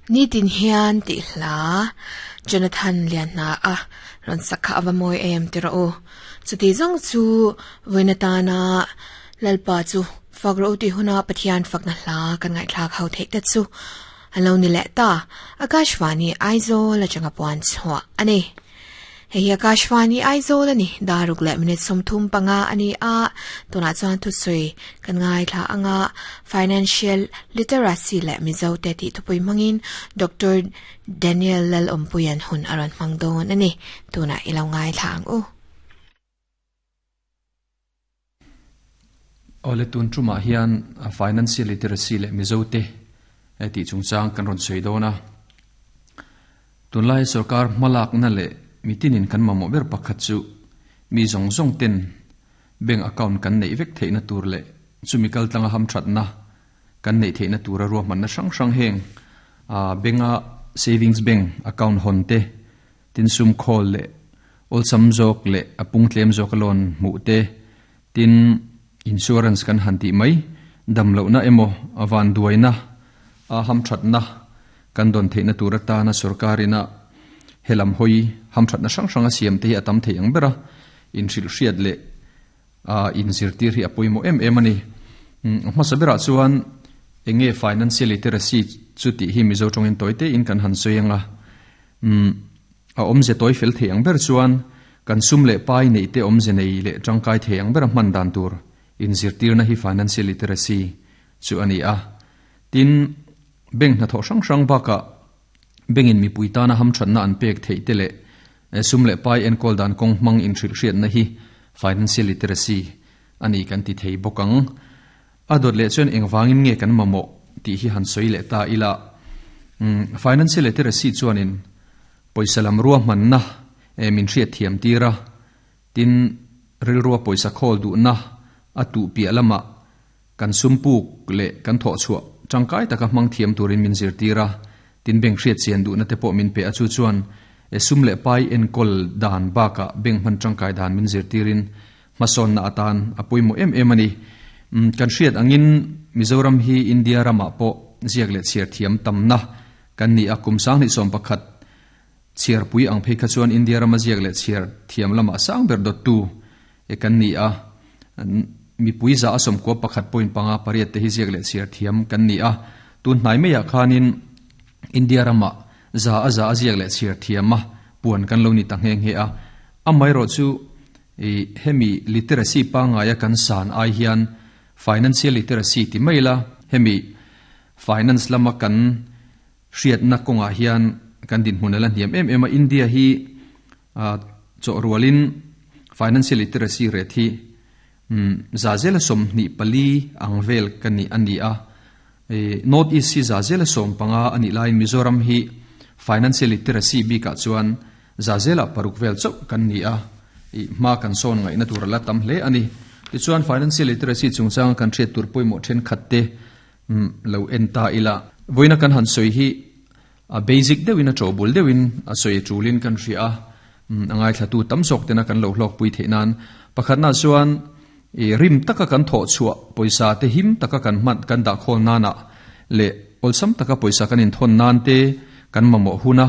Nitin hian tih hla Jonathan Lianhna a rawn sak kha a va mawi em ti rawh u. Chuti zawng chu vawiin atana Lalpa chu fak rawh u tih huna Pathian fakna hla kan ngaihthlak ho theih te chu a lo ni leh ta. Akashvani Aizawl atanga puan chhuah a ni. Hei hi Akashvani Aizawl a ni. Daruk leh minute 35 a ni a, tunah chuan thusawi kan ngaithla anga Financial Literacy leh Mizo te tih thupui hmangin Doctor Daniel Lalawmpuia'n hun a rawn hmang dawn a ni. Tunah i lo ngaithla ang u. Awle tun tumah hian Financial Literacy leh Mizo te tih chungchang kan rawn sawi dawn a. Tunlai sorkar hmalakna leh mitinin kan mamawh ber pakhat chu mi zawng zawng ten bank account kan neih vek theihna tur leh chumi kaltlanga hamthatna kan neih theihna tura ruahmanna hrang hrang heng bank-a savings bank account hawn te, Tin sum khawl leh awlsam zawk leh a pung tlem zawk a loan hmuh te, tin insurance kan han tih mai, dam lohna emaw a vanduaina a hamthatna kan dawn theihna tur atana sorkarina helam hawi hamthatna hrang hrang a siam te hi a tam thei ang ber a, inhrilhhriat leh a inzirtir hi a pawimawh em em a ni. A hmasa berah chuan eng nge financial literacy chu tih hi Mizo tawngin tawi tein kan han sawi ang a. A awmze tawi fel thei ang ber chuan kan sum leh pai neih te awmze nei leh tangkai thei ang bera hman dan tur inzirtirna hi financial literacy chu a ni a. Tin, bank hnathawh hrang hrang bakah Bank-in mipui tana hamthatna an pek theih te leh sum leh pai enkawl dan kawng hmang inhrilhhriatna hi financial literacy a ni kan ti thei bawk ang. A dawt leh chuan engvangin nge kan mamawh tih hi han sawi leh ta ila. Financial literacy chuanin pawisa lam ruahmanna min hriatthiam tir a, tin rilrua pawisa khawl duhna a tuh piah lamah Kan sum puk leh kan thawhchhuah tangkai taka hmang thiam turin min zirtir a, tin bank hriat chian duhna te pawh min pe a, chu chuan sum leh pai enkawl dan bakah bank hman tangkai dan min zirtirin hmasawnna atan a pawimawh em em a ni. Kan hriat angin Mizoram hi India ramah pawh ziak leh chhiar thiam tamna kan ni a, kum 2011 chhiarpui ang phei kha chuan India rama ziak leh chhiar thiam lamah sang ber dawttu kan ni a. Mipui za a 91.58 te hi ziak leh chhiar thiam kan ni a, tun hnai maiah khanin India ramah za a za a ziak leh chhiar thiam a puan kan lo ni ta nghe nghe a. Amaherawh chu hemi literacy pangngaia kan san ai hian financial literacy ti mai ila hemi finance lama kan hriatna kawngah hian kan dinhmun a la hniam em em a. India hi Chawhrualin financial literacy rate hi za zela 24 ang vel ka ni a ni a. North East hi za zela 15 a nih laiin Mizoram hi financial literacy bikah chuan za zela 6 vel chauh kan ni a. Hma kan sawn ngaihna tur a la tam hle a ni. Tichuan financial literacy chungchanga kan hriat tur pawimawh thenkhat te lo en ta ila. Vawiina kan han sawi hi A basic deuhin a tawhbul deuhin a sawi tulin kan hria a, a ngaithlatu tam zawk tena kan lo hlawkpui theih nan. Pakhatna chuan i rim taka kan thawh chhuah pawisa te him taka kan hman kan dah khawl nanah leh awlsam taka pawisa kan inthawn nan te kan mamawh hun a.